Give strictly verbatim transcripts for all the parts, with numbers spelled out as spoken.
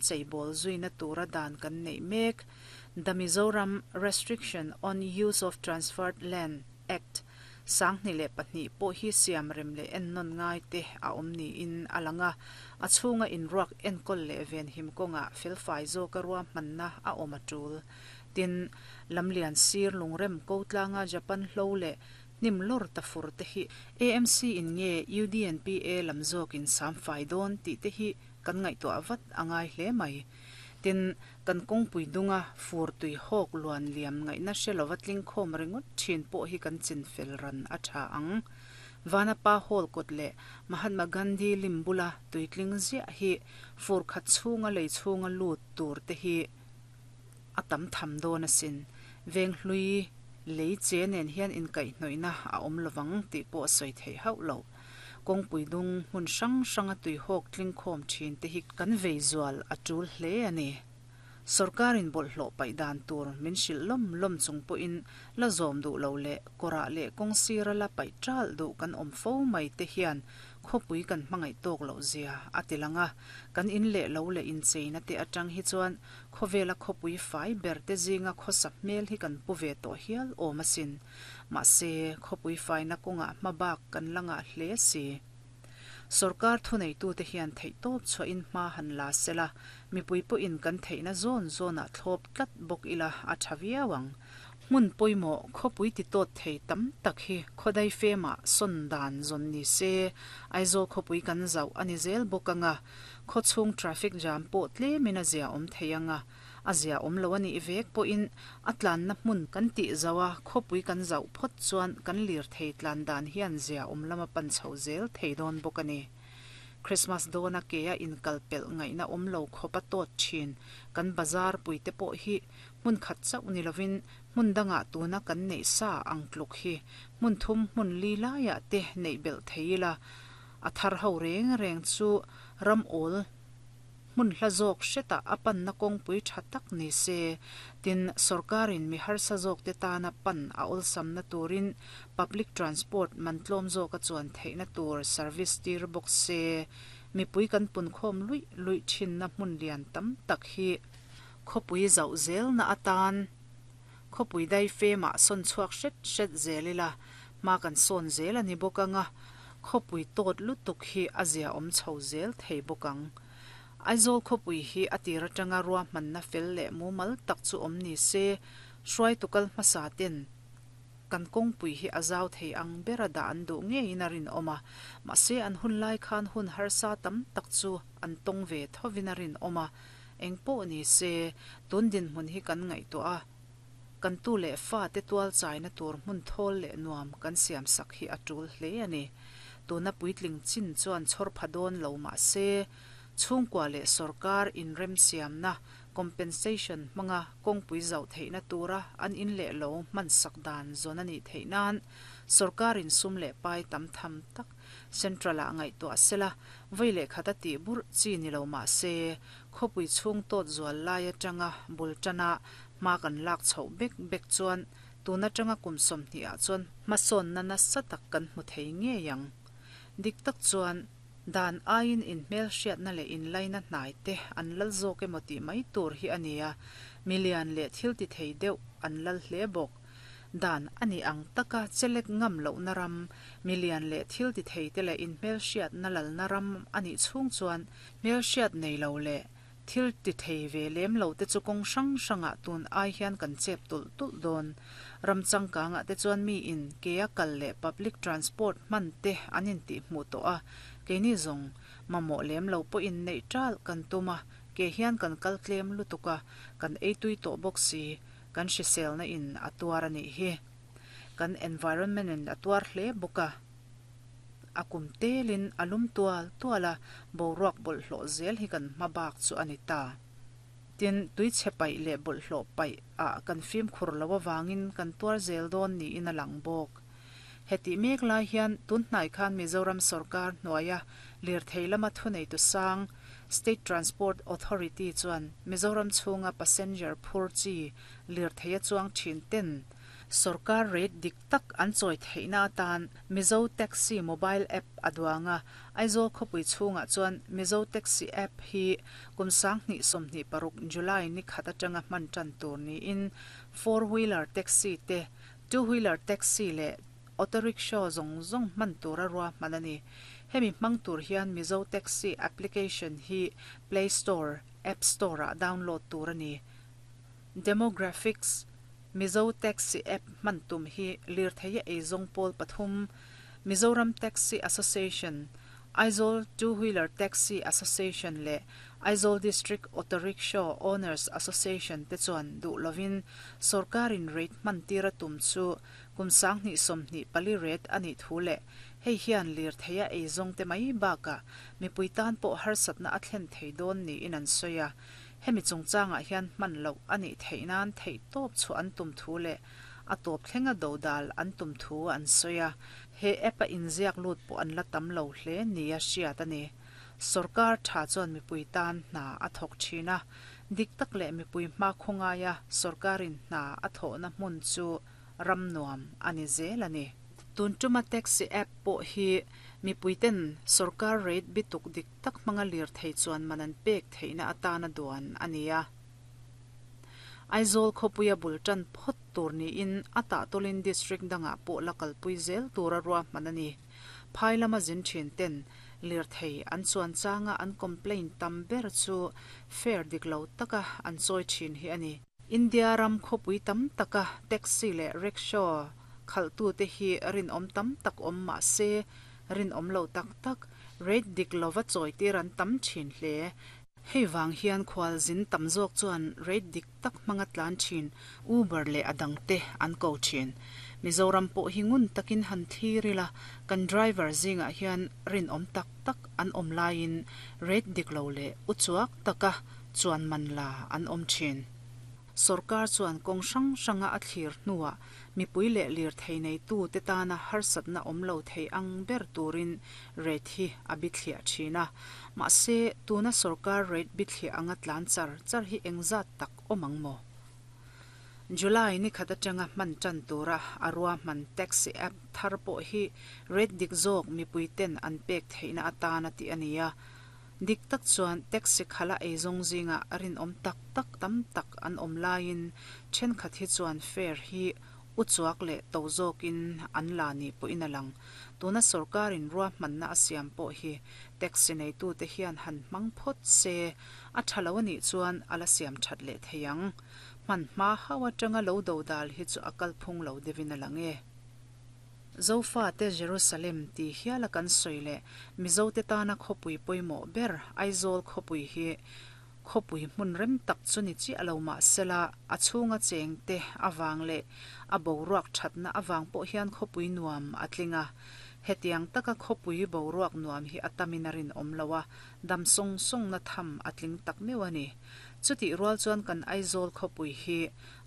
Cheibawl zuina tura dan kan neih mek The Mizoram Restriction on Use of Transferred Land Act sanghnih leh pahnih pawh hi siam rem leh ennawn ngai te a awm niin a lang a, a chhunga inruak enkawl leh venhim kawngah felfai zawka ruahmanna a awm a tul. Tin, lamlian sir lungrem ko tlanga Japan hlo leh hnim lawr ta fur te hi A M C in nge U D N P A lam zawkin samfai dawn tih te hi kan ngaihtuah vat a ngai hle mai. Tin, kan kawngpui dunga fur tui hawk luan liam ngaihna hre lova tling khawm ringawt thin pawh hi kan chin fel ran a tha ang. Vanapa Hall kawt leh Mahatma Gandhi lim bula tuitling ziah hi fur khat chhunga lei chhunga lut tur te hi a tam tham dawn asin. Veng hlui lei che nen hian inkaihhnawihna a awm lovang tih pawh a sawi theih hauh lo. Kawngpui dung hmun hrang hranga tui hawk tling khawm thin te hi kan vei zual a tul hle a ni. Sorkarin bawlhhlawh paih dan tur min hrilh lawm lawm chung pawhin la zawm duh lo leh kawrah leh kawng sira la paih ṭal duh kan awm fo mai te hian khawpui kan hmangaih tawk loh zia a ti lang a. Kan in leh lo leh incheina te atang hi chuan khawvela khawpui fai ber te zinga khawsa hmel hi kan pu ve tawh hial awm asin. Mahse, khawpui faina kawngah hmabak kan la ngah hle si. Sorkar thuneitute hian theihtawp chhuahin hma han la sela, mipui pawhin kan theihna zawn zawnah thlawp tlat bawk ila a tha viau ang. Hmun pawimawh khawpui titawt thei tam tak hi khawdai femah sawn dan zawn ni se, Aizawl khawpui kan zauh a ni zel bawk ang a, khawchhung traffic jam pawh tlemin a zia awm thei ang a, a zia awm lo a nih vek pawhin a tlanna hmun kan tih zauh a, khawpui kan zauh phawt chuan kan lirthei tlan dan hian zia awm lama pan chho zel thei dawn bawk a ni. Christmas dawna kea inkal pelh ngaihna awm lo khawp a tawt thin kan bazar puite pawh hi hmun khat chauh ni lovin hmun dangah tuna kan neih sa ang tluk hi hmun thum hmun li laiah te neih belh thei ila, a thar ho reng reng chu ram awl hmun hla zawk hretah a panna kawngpui tha tak ni se. Tin, sorkarin mi harsa zawk te tana pan a awlsamna turin public transport man tlawm zawka chuan theihna tur service tir bawk se. Mipui kan punkhawm luih luih thinna hmun lian tam tak hi khawpui zauh zelna atan khawpui dai femah sawn chhuak hret hret zel ila, hma kan sawn zel a ni bawk ang a, khawpui tawt lutuk hi a zia awm chho zel thei bawk ang. Aizawl khawpui hi a tir atanga ruahmanna fel leh mumal tak chu awm ni se, hruaitu kal hmasa ten kan kawngpui hi a zau thei ang bera dah an duh ngeiin a rinawm a, mahse an hun lai khan hun harsa tam tak chu an tawng ve thovin a rinawm a. Engpawh ni se, tun dinhmun hi kan ngaihtuah a, kan tu leh fa te tual chaina tur hmun thawl leh nuam kan siam sak hi a tul hle a ni. Tuna puitling chin chuan chhawr pha dawn lo mah se, chhungkua leh sorkar inremsiamna compensation hmanga kawngpui zauh theihna tura an in leh lo hman sak dan zawn a nih theih nan sorkarin sum leh pai tam tham tak central-ah ngaihtuah sela, vawi leh khat a tih burh chi ni lo mah se, khawpui chhung tawt zual lai atanga bul tana hma kan lak chhoh bek bek chuan tun atanga kum sawmhnih ah chuan hmasawnna nasa tak kan hmu thei ngei ang. Dik tak chuan dan aiin inhmelhriatna leh inlaina hnai te an lal zawk emaw tih mai tur hi a ni a, milian leh thil ti thei deuh an lal hle bawk. Dan a nih ang taka chelek ngam lohna ram, milian leh thil ti thei te leh inhmelhriatna lalna ram a nih chhung chuan hmelhriat nei lo leh thil ti thei ve lem lo te chu kawng hrang hrangah tun ai hian kan chep tulh tulh dawn. Ram changkangah te chuan mi in kea kal leh public transport hman te an intih hmuh tawh a, keini zawng mamawh lem lo pawhin neih ṭal kan tum a, ke hian kan kal tlem lutuk a, kan ei tui tawh bawk si, kan hriselna in a tuar a nih hi. Kan environment in a tuar hle bawk a. A kum telin a lum tual tual a, boruak bawlhhlawh zel hi kan hma bak chu a ni ta. Tin, tuichhe paih leh bawlhhlawh paih ah kan fimkhur lo avangin kan tuar zel dawn niin a lang bawk. Hetih mek lai hian tunhnai khan Mizoram sorkar hnuaia lirthei lama thuneitu sang State Transport Authority chuan Mizoram chhunga passenger phur chi lirthei a chuang thin ten Sorkar rate dik tak an chawi theihna atan Mizo Taxi mobile app a duang a, Aizawl khawpui chhungah chuan Mizo Taxi app hi kum sanghnih sawmhnih paruk July ni khat atanga hman tan tur niin four wheeler taxi te, two wheeler taxi leh auto rickshaw zawng zawng hman tura ruahman a ni. Hemi hmang tur hian Mizo Taxi application hi Play Store, App Store ah download tur a ni. Demographics Mizo Taxi app hman tum hi lirthei a eizawng pawl pathum Mizoram Taxi Association, Aizawl Two Wheeler Taxi Association leh Aizawl District Auto Rickshaw Owners Association te chuan duh lovin sorkarin rate hman tir a tum chu kum sanghnih sawmhnih pali rate a nih thu leh hei hian lirthei a eizawng te mai bakah mipui tan pawh harsatna a thlen thei dawn niin an sawi a. Hemi chungchangah hian hman loh a nih theih nan theih tawp chu an tum thu leh a tawp thlenga do dal an tum thu an sawi a. He app a inziak lut pawh an la tam lo hle nia hriat a ni. Sorkar tha chuan mipui tan hna a thawk thin a, dik tak leh mipui hma khawngaia sorkarin hna a thawhna hmun chu ram nuam a ni zel a ni. Tun tuma taxi app pawh hi mipui ten sorkar rate bituk dik tak hmanga lir thei chuan man an pek theihna atana duan a ni a. Aizawl khawpuia bul tan phawt tur niin a tahtawlin district dangah pawh la kalpui zel tura ruahman a ni. Phai lama zin thin ten lir thei an chuan changa an complaint tam ber chu fare dik lo taka an chawi thin hi a ni. India ram khawpui tam taka taxi leh rickshaw khaltu te hi rin awm tam tak awm mah se rin awm lo tak tak rate dik lova chawi tir an tam thin hle. Hei wang hian khwal zin tam zawk chuan rate dik tak hmanga tlan thin Uber leh adang te an ko thin. Mizoram pawh hi ngun takin han thirila kan driver zingah hian rin awm tak tak an awm laiin rate dik lo leh uchuak taka chuan man la an awm thin. Sorkar chuan kawng hrang hranga a thlir hnuah mipui leh lir thei nei tu te tana harsatna awm lo thei ang ber turin rate hi a bi thliah thin a. Mahse tuna sorkar rate bi thliah anga tlan char char hi engzat tak awm ang maw. July ni khat atanga hman tan tura a ruahman taxi app thar pawh hi rate dik zawk mipui ten an pek theihna atana tih a ni a. Dik tak chuan taxi khala eizawng zinga rin awm tak tak tam tak an awm laiin thenkhat hi chuan fare hi uchuak leh to zawkin an la ni pawhin a lang. Tuna sorkarin ruahmanna a siam pawh hi taxi neitu te hian han hmang phawt se a tha lo anih chuan a la siam that leh thei ang. Hman hma hau atanga lo do dal hi chu a kalphung lo deuhin a lang e. Zofa te Jerusalem ti hiala kan sawi leh Mizo te tana khawpui pawimawh ber Aizawl khawpui hi khawpui hmun rem tak chu ni chiah lo mah sela a chhunga cheng te awang leh a boruak thatna awang pawh hian khawpui nuam a tling a. Hetiang taka khawpui boruak nuam hi a tamin a rin awm lo a, dam sawng sawng na tham a tling tak meuh a ni. Chutih rual chuan kan Aizawl khawpui hi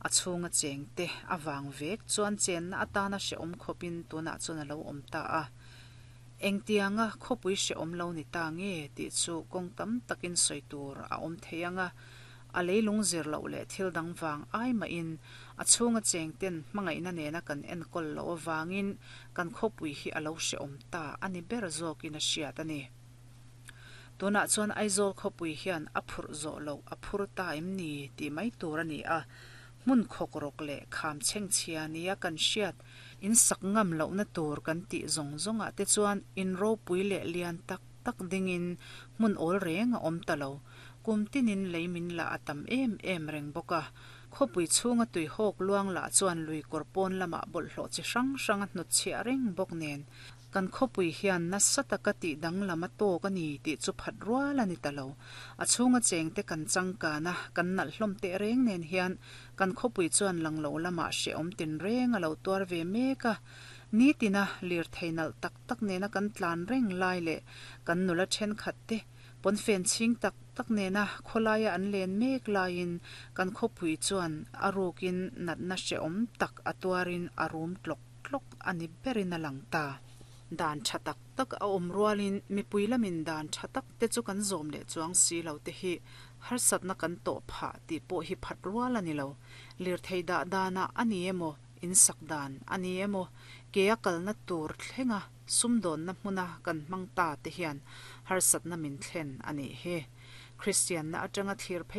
a chhunga cheng te awang vek chuan chenna atana hreawm khawpin tunah chuan a lo awm ta a. Engtianga khawpui hreawm lo ni ta nge tih chu kawng tam takin sawi tur a awm thei anga. A leilung zir loh leh thil dang wang ai mahin a chhunga cheng ten hmangaihna nena kan enkawl lo awangin kan khawpui hi a lo hreawm ta a ni ber zawkin a hriat a ni. Tunah chuan Aizawl khawpui hian a phurh zawh loh a phur ta em ni tih mai tur a ni a. Hmun khawk rawk leh kham chheng chhia nia kan hriat in sak ngam lohna tur kan tih zawng zawngah te chuan in ropui leh lian tak tak dingin hmun awl reng a awm ta lo. Kum tinin lei min la a tam em em reng bawk a. Khawpui chhunga tui hawk luang lah chuan lui kawr pawn lamah bawlhhlawh chi hrang hrang a hnut chhiah reng bawk nen. Kan khawpui hian nasa taka tih danglam a tawk a ni tih chu phat rual a ni ta lo. A chhunga cheng te kan changkana kan nalh hlawm teh reng nen hian kan khawpui chuan lang lo lamah hreawm tin reng a lo tuar ve mek a. Ni tina lir thei nalh tak tak nena kan tlan reng lai leh kan nula thenkhat te pawnfen chhing tak tak nena khawlaia an len mek laiin kan khawpui chuan a rukin natna hreawm tak a tuarin a rum tlawk tlawk a ni berin a lang ta. Dan tha tak tak a awm rualin mipui lamin dan tha tak te chu kan zawm leh chuang si lo te hi harsatna kan tawh phah tih pawh hi phat rual a ni lo. Lir thei dah dana a ni emaw in sak dan ani emaw ke a kalna tur thlenga sumdawnna hmuna kan hmang ta te hian harsatna min thlen ani hi. Kristian na atanga thlir phei